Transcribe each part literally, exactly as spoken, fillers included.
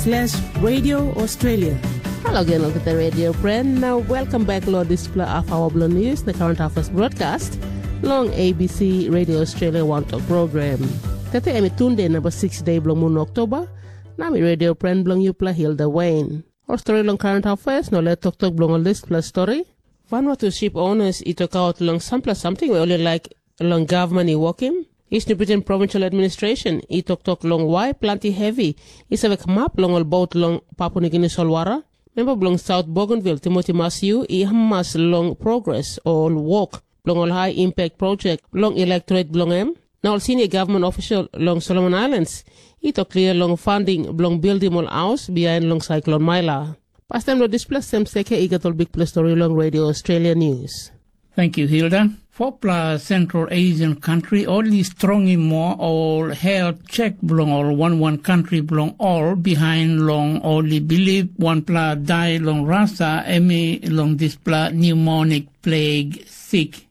slash Radio Australia. Halo gen olgeta radio friend, na welcome back lo dispela afawa bilong news na current affairs broadcast long A B C Radio Australia One Talk program. Tete em i tunde number six day bilong mun Oktober, na mi radio friend bilong yupela Hilda Wayne. Ol stori long current affairs na ol toktok bilong ol dispela stori. Vanuatu ship owners i tokaut long sampela samting we ol i laik long gavman i wokim. Eastern Britain Provincial Administration i toktok long wai planti hevi i save kamap long ol bot long Papua Nugini solwara. Memba bilong South Bougainville Timothy Masiu i hamas long progres o ol wok bilong ol high impact project long electorate bilong em. Na ol senior government official long Solomon Islands i tok klia long funding bilong bildim ol haus bihain long cyclone Maila. Pastaim long dispela sem seke i gat ol bikpela stori long Radio Australia News. Thank you, Hilda. Fopla Central Asian country ol i strongim moa ol health check bilong ol wan wan country bilong ol behind long ol i bilip wanpela dai long Russia em i long dispela pneumonic plague sick.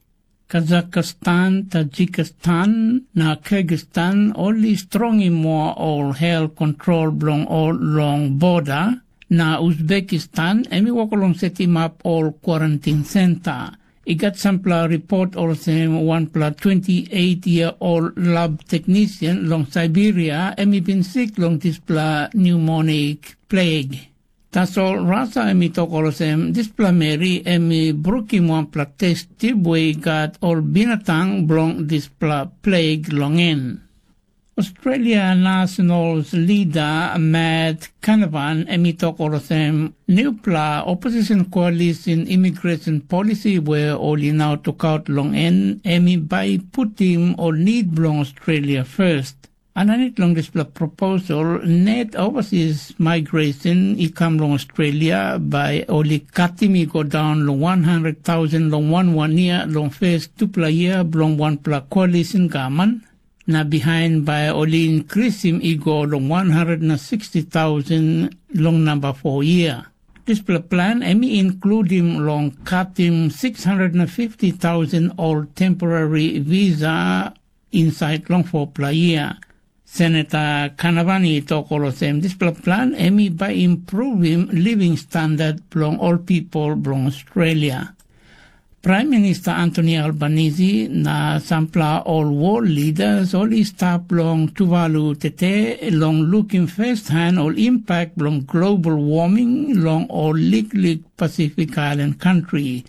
Kazakhstan, Tajikistan, na Kyrgyzstan ol i strongim moa ol health control bilong ol long border, na Uzbekistan em i wok long setimap ol quarantine center. I gat sampela ripot olsem wanpela twenty eight year old lab technician long Siberia em i bin sik long dispela pneumonic plague. Tasol Rasa em i tok olsem dispela meri em i brukim wanpela test tip we i gat ol binatang bilong dispela plague long en. Australia National Leader Matt Canavan em i tok olsem newpela opposition coalition immigration policy we ol i nau tokaut long en em i bai putim ol nid bilong Australia first. Aninit long dispela proposal, net overseas migration i kam long Australia bai ol i katim i go daun long one hundred thousand long wan wan yia long first tupela yia bilong wanpela coalition gavman, na bihain bai ol i inkrisim i go long one hundred na sixty thousand long namba four yia. Dispela plan em i inkludim long katim six hundred na fifty thousand ol temporary visa insait long fopela yia. Senata Kanavani i tok olsem dispela plan em i bai impruvim living standard bilong ol pipel bilong Australia. Praim Minista Antoni Albanisi na sampela ol wol lidas ol i stap long Tuvalu tete long lukim feshan ol impak bilong global warming long ol liklik Pasifik ailan kantri.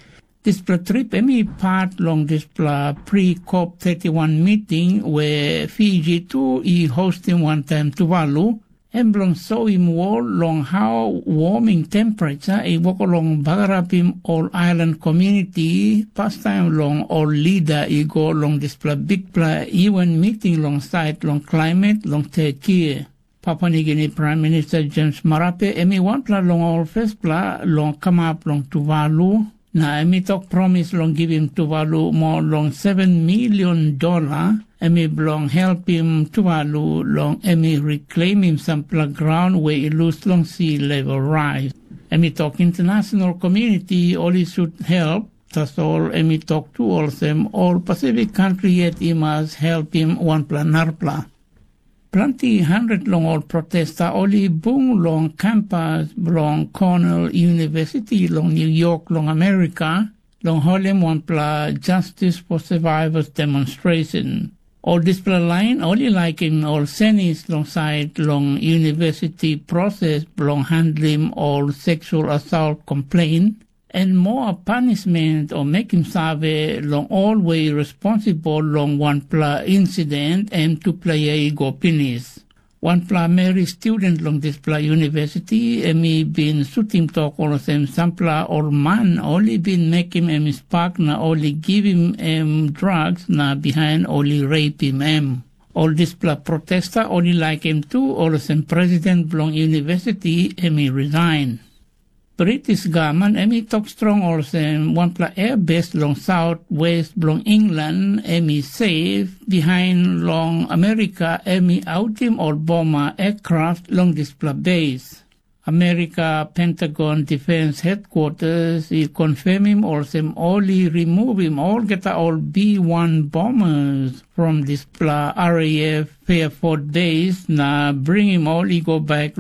Dispela trip em i pat long dispela pre-COP thirty-one miting we Fiji tu i hostim wantaim Tuvalu, em bilong soim wol long hau warming temperature i wok long bagarapim ol ailan komuniti pastaim long ol lida i go long dispela bikpela U N miting long sait long klaimet long Turkey. Papua Nigini Praim Minista James Marape em i wanpela long ol fespela long kamap long Tuvalu, na em i tok promis long givim Tuvalu moa long seven milion dola, em i bilong helpim Tuvalu long em i riklemim sampela graun we i lus long si level rais. Em i tok international komuniti ol i sut help, tasol em i tok tu olsem ol Pasifik kantri yet i mas helpim wanpela narapela. Planti handet long ol protesta ol i bung long kampas bilong Cornell University long New York long Amerika, long holim wanpela Justice for Survivors demonstration. Ol dispela lain ol i laikim ol senis long sait long university proses bilong handlim ol seksual assault complain, en moa panisment o mekim save long ol we i responsibel long wanpela insident em tupela yia i go pinis. Wanpela meri student long dispela university em i bin sutim tok olsem sampela ol man ol i bin mekim em i spak na ol i givim em drugs na bihain ol i reipim em. Ol dispela protesta ol i laikim tu olsem president bilong university em i resign. British gavman em i tok strong olsem wanpela airbase long saut west bilong England em i seif bihain long Amerika em i autim ol boma aircraft long dispela base. Amerika Pentagon Defense Headquarters i confirmim olsem ol i removim olgeta ol B one bombers from dispela R A F Fairford base na bringim ol i go bek